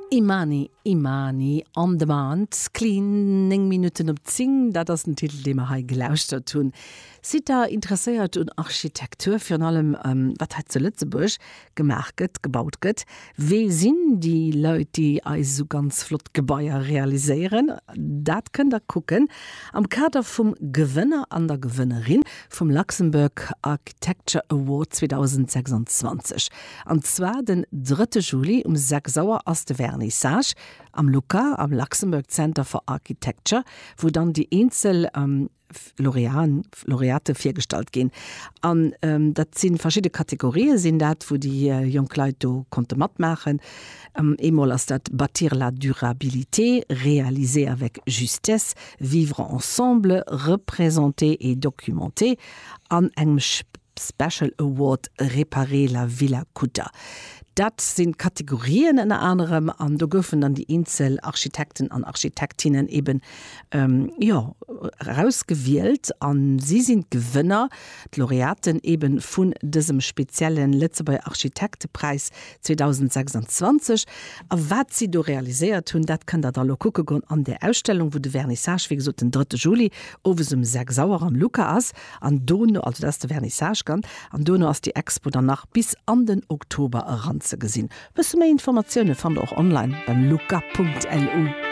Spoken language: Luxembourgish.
Imani, Imani, On Demand, Clean, 9 Minutten op 10, dat ass den Titel, dee mer hei gelauschtert hunn. Sidd der interesséiert un Architektur, virun allem wat hei zu Lëtzebuerg gemaach gëtt, gebaut gëtt? Wee sinn déi Leit, déi eis esou ganz flott Gebaier realiséieren? Dat kënnt der kucken am Kader vum Gewënner an der Gewënnerin vum Luxembourg Architecture Award 2026. An zwar den drëtte Juli um 6 Auer ass de Vernissage am LUCA, am Luxembourg Center for Architecture, wou dann déi eenzel Lauréaten, Lauréate virgestallt ginn. An dat si verschidde Kategorië sinn dat, wou déi jonk Leit do konnte matmaachen. Eemol ass dat Bâtir la durabilité, réaliser avec justesse, vivre ensemble, représenter et documenter an engem Special Award Réparer la Villa Kutter. Dat sinn d'Kategorien ënner anerem an do goufen dann déi eenzel Architekten an Architektinnen eben, jo, erausgewielt a si sinn d'Gewënner, d'Laureaten eben vun dësem spezielle Lëtzebuerger Architektepräis 2026. A wat si do realiséiert hunn, dat kënnt der da lo kucke goen an där Ausstellung, wou de Vernissage, wéi gesot, den drëtte Juli owes um 6 Auer am LUCA ass. An dono, also dat ass de Vernissage dann, an dono ass déi Expo dann nach bis an den Oktober eran ze gesinn. Bësse méi Informatioune fannt der och online beim luca.lu.